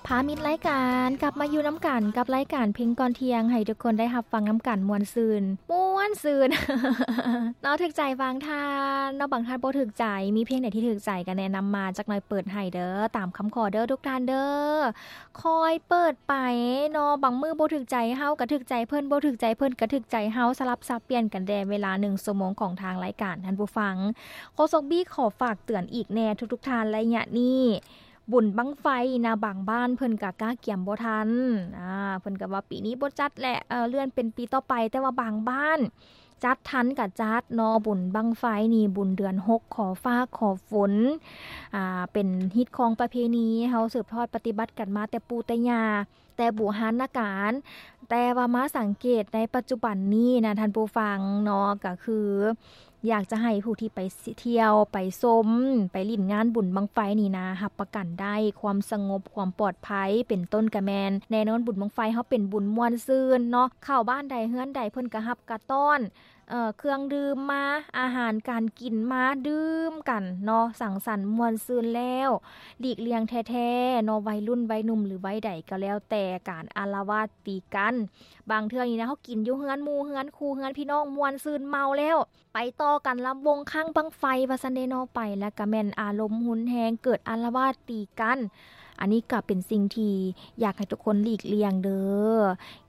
ພາມິດລາຍການກັບມາຢູ່ນຳກັນກັບລາຍການເພງກ່ອນທ່ຽງ ໃຫ້ທຸກຄົນໄດ້ຮັບຟັງນຳກັນມ່ວນຊື່ນ ມ່ວນຊື່ນ ເນາະ ຖືກໃຈບາງທ່ານເນາະ ບາງທ່ານບໍ່ຖືກໃຈ ມີເພງໃດທີ່ຖືກໃຈກໍແນະນຳມາຈັກໜ່ອຍ ເປີດໃຫ້ເດີ້ ຕາມຄຳຂໍເດີ້ທຸກທ່ານເດີ້ ຄ່ອຍເປີດໄປເນາະ ບາງມື້ບໍ່ຖືກໃຈເຮົາກໍຖືກໃຈເພິ່ນ ບໍ່ຖືກໃຈເພິ່ນກໍຖືກໃຈເຮົາ ສະຫຼັບສັບປ່ຽນກັນແດ່ ເວລາໜຶ່ງຊົ່ວໂມງຂອງທາງລາຍການ ທ່ານຜູ້ຟັງ ໂຄສົກບີຂໍຝາກເຕືອນອີກແນ່ທຸກໆທ່ານ ໄລຍະນີ້ ບຸນບັ້ງໄຟນະ ບາງບ້ານເພິ່ນກະກະກຽມບໍ່ທັນ ອາ ເພິ່ນກະວ່າປີນີ້ບໍ່ຈັດແຫຼະ ເລື່ອນເປັນປີຕໍ່ໄປ ແຕ່ວ່າບາງບ້ານຈັດທັນກະຈັດເນາະ ບຸນບັ້ງໄຟນີ້ ບຸນເດືອນຫົກ ຂໍຟ້າຂໍຝົນ ອາ ເປັນຮີດຄອງປະເພນີ ເຮົາສືບທອດປະຕິບັດກັນມາແຕ່ປູ່ແຕ່ຍ່າ ແຕ່ບູຮານນະການ ແຕ່ວ່າມາສັງເກດໃນປັດຈຸບັນນີ້ນະ ທ່ານຜູ້ຟັງເນາະ ກະຄື ຢາກຈະໃຫ້ຜູ້ທີ່ໄປທ່ຽວ ໄປຊົມ ໄປຫຼິ້ນງານບຸນບັ້ງໄຟນີ້ນະ ຮັບປະກັນໄດ້ຄວາມສະຫງົບ ຄວາມປອດໄພ ເປັນຕົ້ນກະແມ່ນ ແນ່ນອນບຸນບັ້ງໄຟເຮົາເປັນບຸນມ່ວນຊື່ນເນາະ ເຂົ້າບ້ານໃດເຮືອນໃດເພິ່ນກະຮັບກະຕ້ອນ ເອີ ເຄື່ອງດື່ມມາ ອາຫານການກິນມາ ດື່ມກັນເນາະ ສັງສັນມ່ວນຊື່ນແລ້ວ ຫຼີກລ່ຽງແທ້ໆເນາະ ໄວລຸ້ນໄວໜຸ່ມ ຫຼື ໄວໃດກໍແລ້ວແຕ່ ການອາລະວາດຕີກັນ ບາງເທື່ອນີ້ນະ ເຮົາກິນຢູ່ເຮືອນໝູ່ເຮືອນຄູ່ ເຮືອນພີ່ນ້ອງ ມ່ວນຊື່ນເມົາແລ້ວ ໄປຕໍ່ກັນລຳວົງຄ້າງບັ້ງໄຟວ່າຊັ້ນເດເນາະ ໄປແລ້ວກະແມ່ນອາລົມຮຸນແຮງ ເກີດອາລະວາດຕີກັນ ອັນນີ້ກະເປັນສິ່ງທີ່ຢາກໃຫ້ທຸກຄົນຫຼີກລ່ຽງເດີ້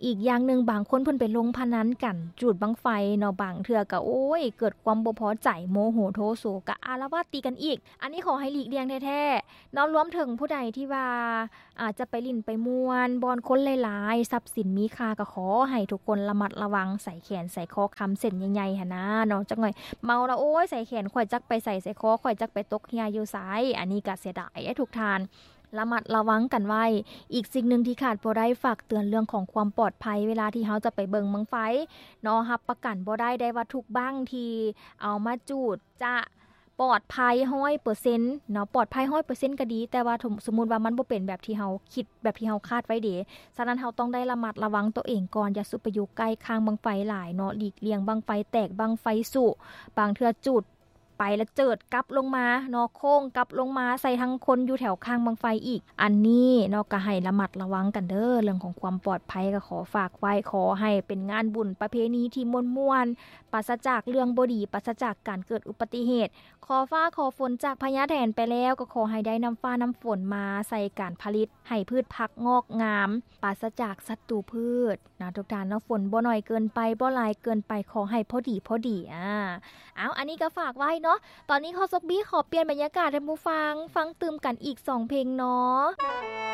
ອີກຢ່າງໜຶ່ງ ບາງຄົນເພິ່ນໄປລົງພະນັນກັນ ຈູດບັ້ງໄຟເນາະ ບາງເທື່ອກະ ໂອ້ຍ ເກີດຄວາມບໍ່ພໍໃຈ ໂມໂຫໂທໂສ ກະອາລະວາດຕີກັນອີກ ອັນນີ້ຂໍໃຫ້ຫຼີກລ່ຽງແທ້ໆເນາະ ລວມເຖິງຜູ້ໃດທີ່ວ່າ ອາດຈະໄປຫຼິ້ນໄປມ່ວນບ່ອນຄົນຫຼາຍໆ ຊັບສິນມີຄ່າ ກໍຂໍໃຫ້ທຸກຄົນລະມັດລະວັງ ໃສ່ແຂນໃສ່ຄໍຄຳເສັ້ນໃຫຍ່ໆຫັ້ນນາເນາະ ຈັກໜ່ອຍເມົາລະ ໂອ້ຍ ໃສ່ແຂນຂ້ອຍຈັກໄປໃສ ໃສ່ຄໍຂ້ອຍຈັກໄປຕົກເຫື່ອຢູ່ໃສ ອັນນີ້ກໍເສຍດາຍເດ້ທຸກທ່ານ ລະມັດລະວັງກັນໄວ້ ອີກສິ່ງໜຶ່ງທີ່ຂາດບໍ່ໄດ້ ຝາກເຕືອນເລື່ອງຂອງຄວາມປອດໄພ ເວລາທີ່ເຮົາຈະໄປເບິ່ງບັ້ງໄຟເນາະ ຮັບປະກັນບໍ່ໄດ້ ໄດ້ວ່າທຸກບັ້ງທີ່ເອົາມາຈູດຈະ ປອດໄພຮ້ອຍເປີເຊັນເນາະ ປອດໄພຮ້ອຍເປີເຊັນກໍດີ ແຕ່ວ່າສົມ ສົມມຸດວ່າມັນບໍ່ເປັນແບບທີ່ເຮົາຄິດ ແບບທີ່ເຮົາຄາດໄວ້ເດ ສະນັ້ນເຮົາຕ້ອງໄດ້ລະມັດລະວັງໂຕເອງກ່ອນ ຢ່າສູ່ໄປຢູ່ໃກ້ຄ້າງບັ້ງໄຟຫຼາຍເນາະ ຫຼີກລ່ຽງບັ້ງໄຟແຕກ ບັ້ງໄຟສຸ ບາງເທື່ອຈູດໄປລະເຈີດກັບລົງມາເນາະ ໂຄ້ງກັບລົງມາໃສ່ທັງຄົນຢູ່ແຖວຄ້າງບັ້ງໄຟອີກ ອັນນີ້ເນາະ ກໍໃຫ້ລະມັດລະວັງກັນເດີ້ ເລື່ອງຂອງຄວາມປອດໄພກໍຂໍຝາກໄວ້ ຂໍໃຫ້ເປັນງານບຸນປະເພນີທີ່ມ່ວນໆ ປາສະຈາກເລື່ອງບໍ່ດີ ປາສະຈາກການເກີດອຸບັດຕິເຫດ ຂໍຟ້າຂໍຝົນຈາກພະຍາແຖນໄປແລ້ວ ກໍຂໍໃຫ້ໄດ້ນ້ຳຟ້ານ້ຳຝົນມາໃສ່ການຜະລິດ ໃຫ້ພືດຜັກງອກງາມ ປາສະຈາກສັດຕູພືດນະທຸກທ່ານເນາະ ຝົນບໍ່ໜ້ອຍເກີນໄປ ບໍ່ຫຼາຍເກີນໄປ ຂໍໃຫ້ພໍດີ ພໍດີ ອາ ເອົາ ອັນນີ້ກໍຝາກໄວ້ເນາະ ຕອນນີ້ໂຄສົກບີຂໍປ່ຽນບັນຍາກາດໃຫ້ໝູ່ຟັງ ຟັງຕື່ມກັນອີກສອງເພງເນາະ.